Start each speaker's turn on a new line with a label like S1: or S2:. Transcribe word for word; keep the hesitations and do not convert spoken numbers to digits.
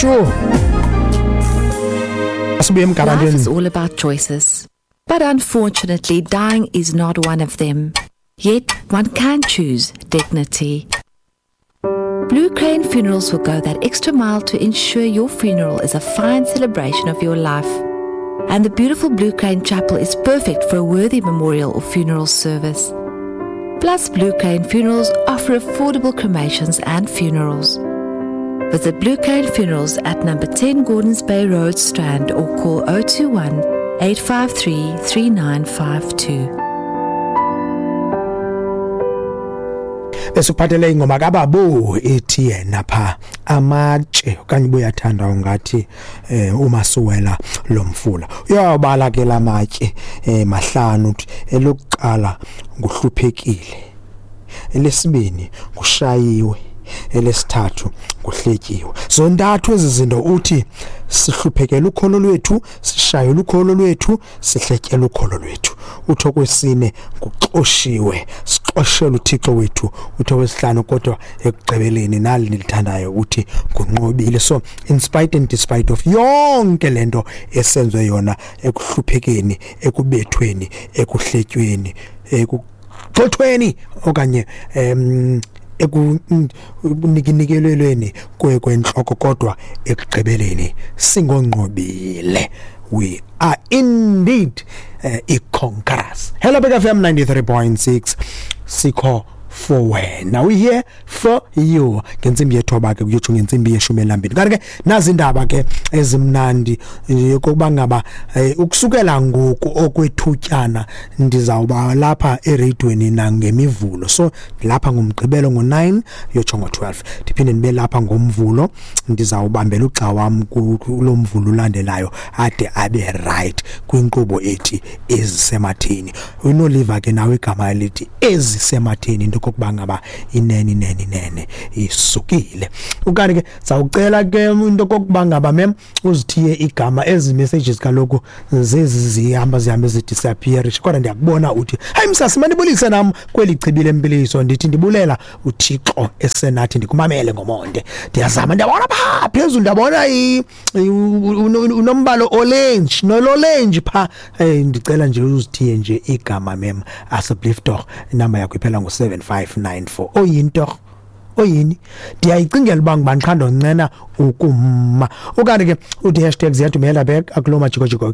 S1: Sure, asibuye
S2: Life
S1: emgarantweni.
S2: is all about choices. But unfortunately, dying is not one of them. Yet, one can choose dignity. Blue Crane Funerals will go that extra mile to ensure your funeral is a fine celebration of your life. And the beautiful Blue Crane Chapel is perfect for a worthy memorial or funeral service. Plus, Blue Crane Funerals offer affordable cremations and funerals. Visit Blue Crane Funerals at number ten Gordons Bay Road, Strand, or call oh two one, eight five three, three nine five two.
S1: Besuphathele ingoma kaBabu ethi yena pha amatshe okanye ubuyathanda ungathi eh uma suwela lomfula uyawabala ke lamatshe eh mahlanu uthi elokuqala nguhluphekile, elesibini ngushayiwe, elesithathu nguhletyiwe. Zontathu ezi zinto uthi sihluphekela ukholo lwethu, sishayela ukholo lwethu, sihletyela ukholo lwethu. Uthi okwesine nguxoshiwe, sixoshela uThixo wethu. Uthi okwesihlanu kodwa ekugqibeleni nali nilithandayo uthi ngunqobile. So in spite and despite of yonke lento esenzwe yona ekuhluphekeni, ekubethweni, ekuhletyweni, ekugxothweni okanye em ekunikelelweni kwentloko, kodwa ekugqibeleni singonqobile. We are indeed uh, i-conquerors. Hello Big F M ninety-three point six, sikho for wena, we here for you. Ngentsimbi yethoba ke kuyotsho ngentsimbi yeshumi elambini. Kanti ke nazi indaba ke ezimnandi yokuba ngaba ukusukela ngoku okwethutyana ndizawuba lapha eradweni nangemivulo. So lapha ngomgqibelo ngo-nine yotsho ngo-twelve, ndiphinde ndibe lapha ngomvulo, ndizawubambela ugxa wam kulo mvulo ulandelayo ade abe right kwinkqubo ethi Ezisematheni. Unoliva ke nawe igama elithi Ezisematheni into kokuba ngaba inene inene inene isukile. Ukanti ke sawucela ke into kokuba ngaba mem uzithiye igama. Ezi messages kaloku zezi zihamba zihambe zidisappear, kodwa ndiyakubona uthi hayi msasi manibulise nam kweli chibi lempiliso. Ndithi ndibulela uThixo esenathi, ndikumamele ngomonde. Ndiyazama ndiyabona pha phezulu, ndiyabona unombalo orange nolorange pha. Ndicela nje uzithiye nje igama mem asseblief tog. Inamba yakho iphela ngo seven five nine four. Oyini tog? Oyini? Ndiyayicingela uba ngubani qha ndoncena ukuma. Ukanti ke uthi hashtag ziyadumela back akulo majikojiko.